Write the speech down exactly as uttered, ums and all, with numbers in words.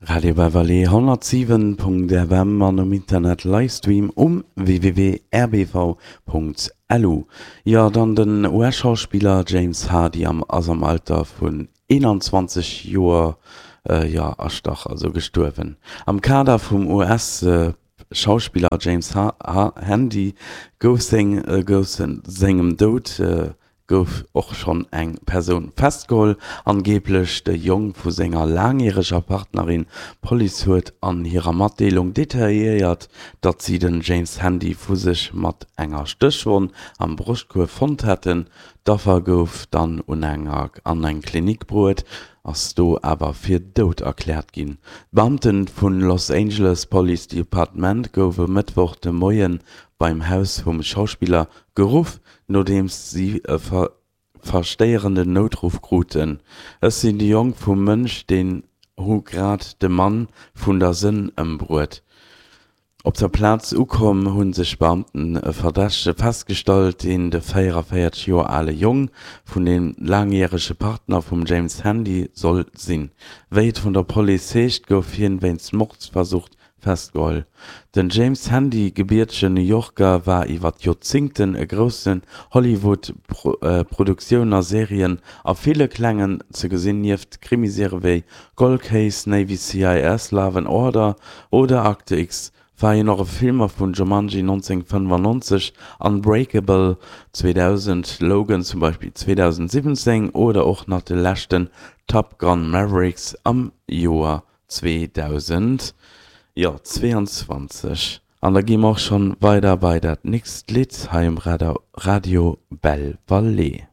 Radio Belle Vallée honnertsiwen Punkt F M an um Internet Livestream um W W W Punkt R B V Punkt L U. Jo, dann den U S-Schauspiller James Hardy am ass am Alter vun eenanzwanzeg Joer, jo, erstach, also gestuerwen. Am Kader vum U S Schauspiller James Handy gouf seng gouf sengem Doud gouf och schonn eng Persoun festgeholl, angeeblech de Jong vu senger laangjäreger Partnerin. D'Police huet an hirer Matdeelung detailléiert, datt si den James Handy vu sech mat enger Stéchwonn am Broschtkuerf fonnt hätten. D'Affer gouf dann un enger an eng Klinik bruet, ass do awer fir dout erkläert ginn. D'Beamte vum Los Angeles Police Department gouf e Mëttwoch de Moie beim Haus vum Schauspiller geruff, nodeems si e verstéierenden Noutruff kruten: "Ech sinn de Jong vum Mënsch, deen hu grad de Mann vun der Sënn ëmbruet." Op der Plaz ukomm hu sech d'Beamten e Verdächtege festgestallt, deen de véieranvéierzeg Joer ale Jong vun dem laangjärege Partner vum James Handy soll sinn. Wéi et vun der Police heescht, gouf hien wéinst Mordversuch festgeholl. Den James Handy, gebiertegen New Yorker, war iwwer Joerzéngten a groussen Hollywood-Produktiounen a Serien a ville klengen ze gesinn. Nieft Krimiserië wéi Cold Case, Navy C I S, Law and Order oder Akte X war hien och a Filmer vun Jumanji nonzénghonnertfënnefannonzeg, Unbreakable zweedausend, Logan zum Beispill zweedausendsiwwenzéng oder och nach de leschten Top Gun Maverick am Joer zweedausend, jo, zweeanzwanzeg. An da gi mer och schonn weider bei dat nächst Lidd hei um Radio Belle Vallée.